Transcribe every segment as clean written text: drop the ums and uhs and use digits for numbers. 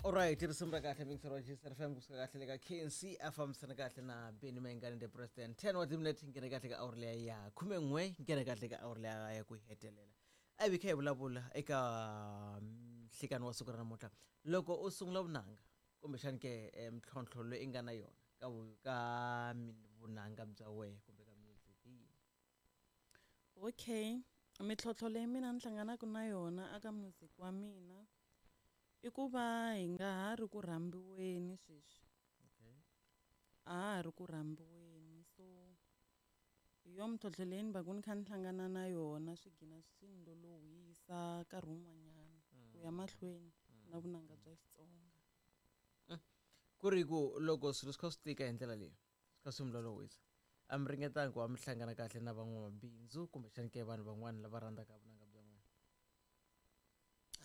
Alright, risimu ra kahle mixer wa GSR FM kusuka kahle le ka KNC a fambisana kahle na Benny Mayengani the President. 10 wa timinete nghene kahle ka awuri leya ya 11 nghene kahle ka awuri leya ya ku hetelela. A hi kha hi vulavula eka nhlikani wa siku ra namuntlha. Loko u sungula vunanga kumbexani ke mintlhontlho leyi i nga na yona ka ka vunanga bya wehe kumbe ka music hi yini? Okay, mintlhontlho leyi mina ni hlanganaka na yona aka music wa mina i ku va hi nga ha ri ku rhambiweni sweswi. Okay. A ha ha ri ku rhambiweni so hi yo mintlhontlho leyi ni va ku ni kha ni hlangana na yona swi gina swi ni lolohisa nkarhi wun'wanyana ku ya mahlweni na vunanga bya Xitsonga. Ku ri ku loko swilo swi kha swi tika hi ndlela leyi swi kha swi mi lolohisa a mi ringetanga ku va mi hlangana kahle na van'wamabindzu kumbexani ke vanhu van'wana lava rhandzaka vunanga bya n'wina?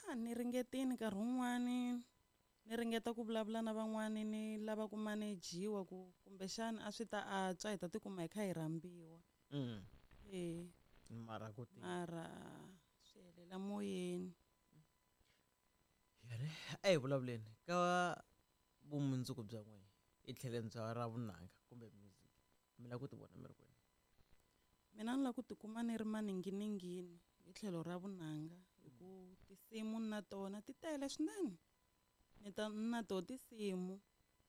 A ni ringetini nkarhi wun'wani ni ringeta ku vulavula na van'wani ni lava ku manejiwa ku kumbexana a swi ta antswa hi ta tikuma hi kha hi rhambiwa. E Mara ku tika. Mara swi helela moyeni. Yare a hi vulavuleni ka vumundzuku bya n'wina hi tlheleni bya ra vunanga kumbe music mi lava ku ti vona mi ri kwini? Mina ni lava ku tikuma ni ri maninginingini hi tlhelo ra vunanga hi ku tinsimu na tona ti tele swinene. Ni ta na toho tinsimu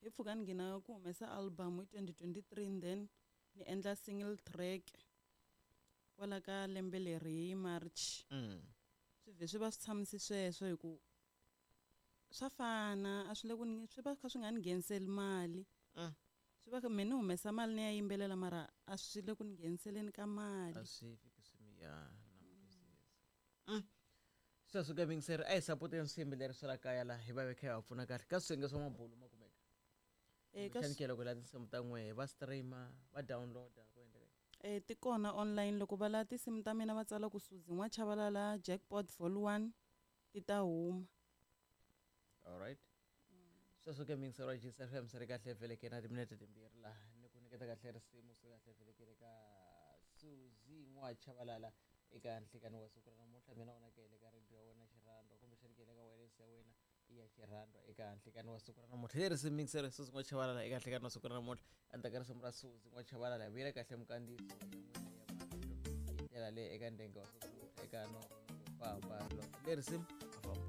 hi pfhuka ni nghena ku humesa album hi 2023 then ni endla single track kwala ka lembe leri hi March. Swi vhe swi va swi tshamise sweswo hi ku swa fana a swi le ku ni swi va kha swi nga ni ngheniseli mali. Swi va me ni humesa mali ni ya yimbelela mara a swi le ku ni ngheniseleni ka mali. A swi fiki swi mi ya na ku twisisa. Sweswo ka mingiseri a hi sapoteni swiyimbeleri swa la kaya laha hi va hi kha hi va pfuna kahle ka swiyenge swa mabulu ma kumeka. Eka Kumbexani ke loko hi lava tinsimu ta n'wehe va stream-a va download-a ku endleka yini? Ti kona online loko va lava tinsimu ta mina va tsala ku Suzy N'wachavalala Jackpot Vol 1 ti ta huma. Alright. Sweswo ke mingiseri wa GCFM FM swi ri kahle vheleke na timinete timbirhi laha ni ku nyiketa kahle risimu swi kahle vhelekele ka Suzy N'wachavalala eka nhlikani wa siku ra namuntlha mina wona ke le ka radio ya wena Xirhandwa kumbexani ke le ka wireless ya wena ya Xirhandwa eka nhlikani wa siku ra namuntlha leri risimu mingiseri Suzy N'wachavalala eka nhlikani wa siku ra namuntlha endzhaku ka risimu ra Suzy N'wachavalala hi vuyela kahle mukandziyiso ya n'wina ya marito hi ndlela leyi eka ndenge wa siku ra namuntlha eka no famba leri risimu a famba.